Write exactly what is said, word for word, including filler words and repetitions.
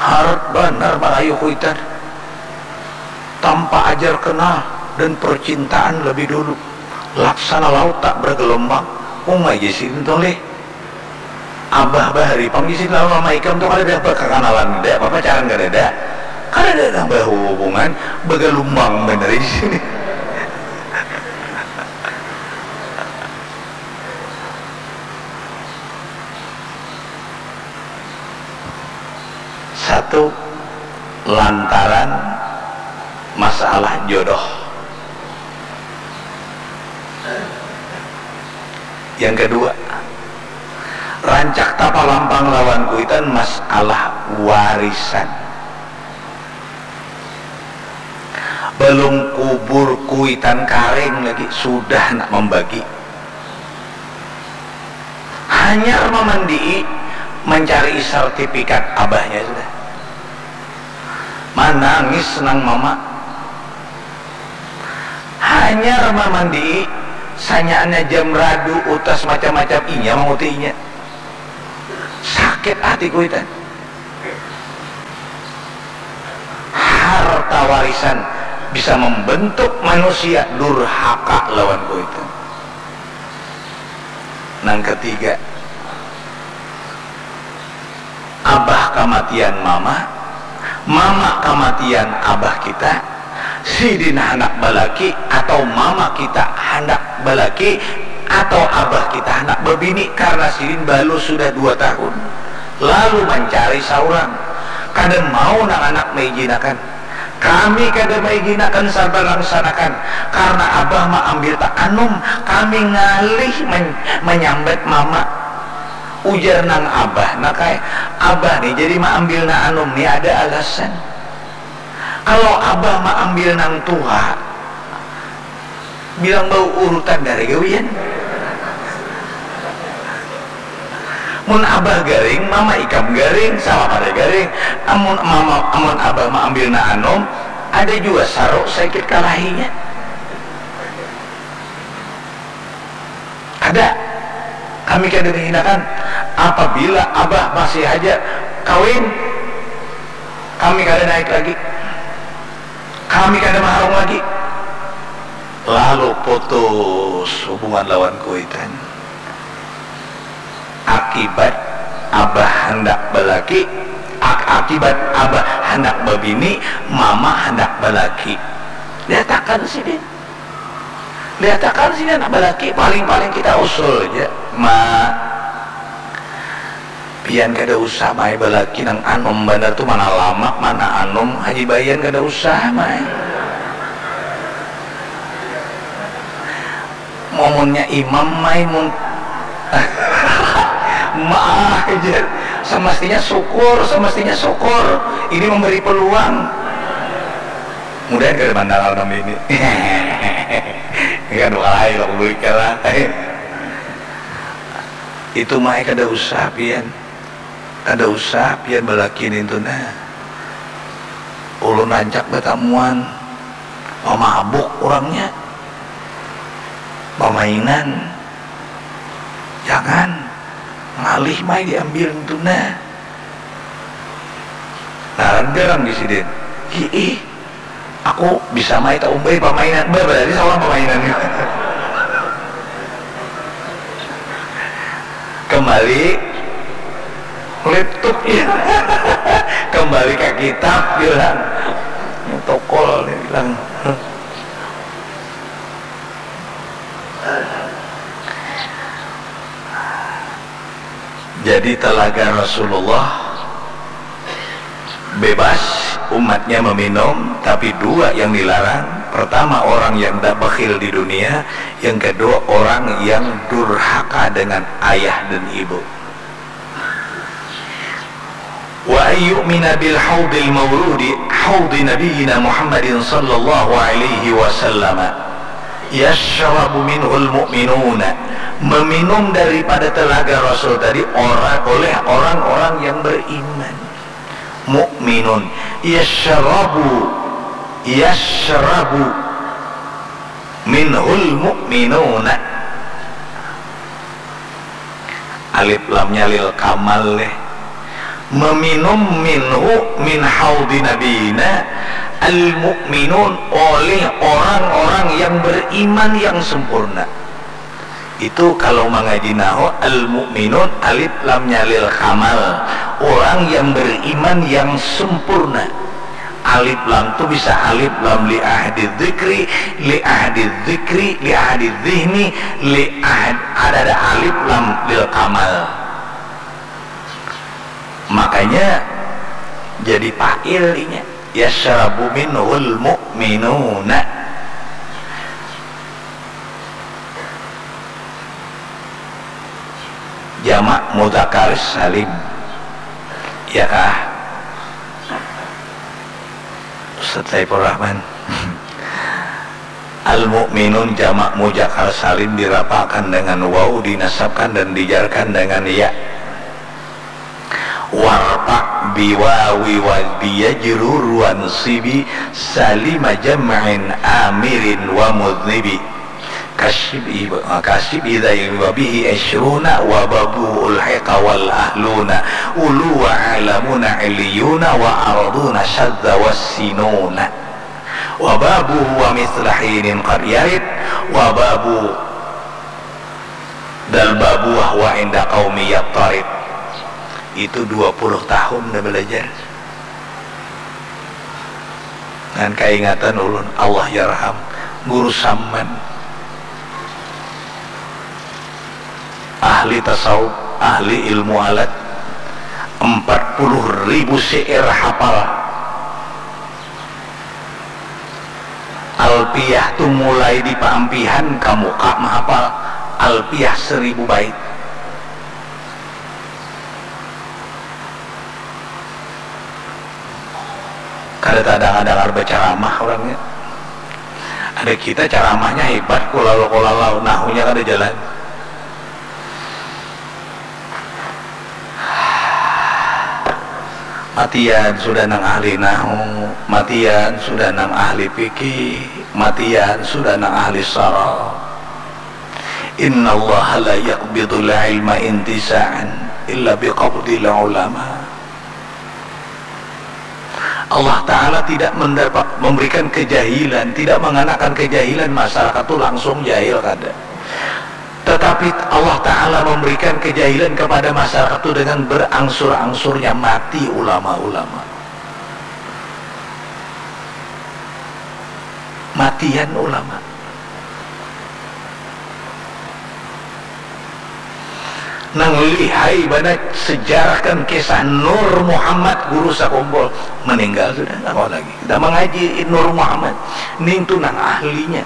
Harat banar marayu kuitan. Tanpa ajar kenal dan percintaan lebih dulu. Laksana laut tak bergelombang. Uma ja sidin tuh lih. Abah bahari pang di sini lawan mama ikam tuh kadada bakakanalan, kadada papacaran, kadada, kadada nang bahubungan, bagalumbang banar di sini. Satu, lantaran masalah jodoh. Yang kedua, rancak tapalampang lawan kuitan masalah warisan. Balum kubur kuitan karing lagi sudah nak mambagi. Hanyar mamandii, mancarii sartipikat abahnya sudah. Manangis nang mama. Hanyar mamandii, sanyaannya jam radu, utas macam-macam, inya mangutiinya. Sakit hati kuitan. Harta warisan bisa membentuk manusia durhaka lawan kuitan. Nang ketiga, abah kamatian mama, mama kamatian abah kita, sidin handak balaki atau mama kita handak balaki atau abah kita handak babini karna sidin balus sudah dua tahun, lalu mancari saurang, kada mau nang anak maijinakan. Kami kada maijinakan sabarang sanakan karna abah maambil ta anum, kami ngalih man- manyambat mama. Ujar nang abah, nak ai, abah ni jadi maambil nang anum ni ada alasan. Kalau abah maambil nang tuha, bilang bau urutan dari gawian. Mun abah garing, mama ikam garing, sama pada garing. Amun mama, amun abah maambil nang anum, ada jua saruk saikit kalahinya. Kada. Kami kada mahinakan. Apabila abah masih haja kawin, kami kada naik lagi. Kami kada maharung lagi. Lalu putus hubungan lawan kuitan. Akibat abah handak balaki, ak- akibat abah handak babini, mama handak balaki. Liatakan sidin. Liatakan sini anak balaki, paling-paling kita usul ja, ma, pian kada usah mai balaki nang anum banar tu, mana lamak mana anum, haji bayan kada usah mai. Mamunnya imam mai mun ma, jar, semestinya syukur, semestinya syukur, ini memberi peluang. Mudahan kada mandang alam ini. Ini kan dua kali lah publik lah. Itu mah kada usah pian. Kada usah pian balaki nintu nah. Ulun rancak batamuan. Pamabuk urangnya. Pamainan. Jangan. Ngalih mai diambil nintu nah. Ngaran garang di sidin. Hiih. Aku bisa mai taumbai pamainan. Bah, berarti saurang pamainan. Kembali laptop ya. Kembali ke kitab bilang. Tokol nih bilang. Jadi telaga Rasulullah bebas umatnya meminum, tapi dua yang dilarang. Pertama, orang yang dah bakhil di dunia. Yang kedua, orang yang durhaka dengan ayah dan ibu. Wa ayyu'mina bil haudil maurudi haudi nabiyina Muhammadin sallallahu alaihi wasallam yashrabu minhul mu'minuna, meminum daripada telaga Rasul tadi orang, oleh orang-orang yang beriman. Mukminun, yashrabu, yashrabu minhul mukminuna. Alif lamnya lil kamal leh. Meminum minhu, min haudi nabiyina, al-mu'minun, oleh orang-orang yang beriman yang sempurna. Itu kalau mangaji nahu, al-mu'minun, alif lamnya lil kamal, orang yang beriman yang sempurna. Alif lam tu bisa alif lam li ahdi dzikri, li ahdi dzikri, li ahdi dzihni, li ahd-, ada, ada alif lam lil kamal. Makanya jadi fa'il inya. Yasyrabu minhul mu'minuna. Jamak mudzakkar salim. Ya kah? Ustaz Saiful Rahman. Al-mu'minun jamak mudzakkar salim dirafa'kan dengan waw, dinasabkan dan dijarkan dengan ya. Warfa' biwawi wa biyajrur wansibi salima jam'in amirin wa mudhnibi. Kasyib'i, kasyib'i dzai wa bihi isyruna wa babu ulhiqa wal ahluna ulu wa alamuna illiyuna wa arduna syadza wassinuna. Wa babu wa misla hinin qad yarid wa babu dal babu wa huwa inda qaumi yattarid. Itu dua puluh tahun dah belajar. Ngan kaingatan ulun, Allah yarham, Guru Samman. Ahli tasawuf, ahli ilmu alat, empat puluh ribu syair hafal. Alfiyah tu mulai di paampihan ka muka mahafal Alfiyah seribu bait. Kada tadangar-dangar bacaramah urangnya. Ada kita caramahnya hebat, kulalu-kulalau, nahunya kada jalan. Matian sudah nang ahli nahu, matian sudah nang ahli fikih, matian sudah nang ahli saraf. Innallaha la yaqbidul ilma intiza'an illa biqabdil ulama. Allah Ta'ala tidak mendapat, memberikan kejahilan, tidak mengenakan kejahilan masyarakat tu langsung jahil, kada. Tetapi Allah Ta'ala memberikan kejahilan kepada masyarakat tu dengan berangsur-angsurnya mati ulama-ulama. Matian ulama. Nang lihai banar sejarahkan kisah Nur Muhammad, guru sakumpul, meninggal sudah, nggak mau lagi. Kita mengaji Nur Muhammad, nintu nang ahlinya.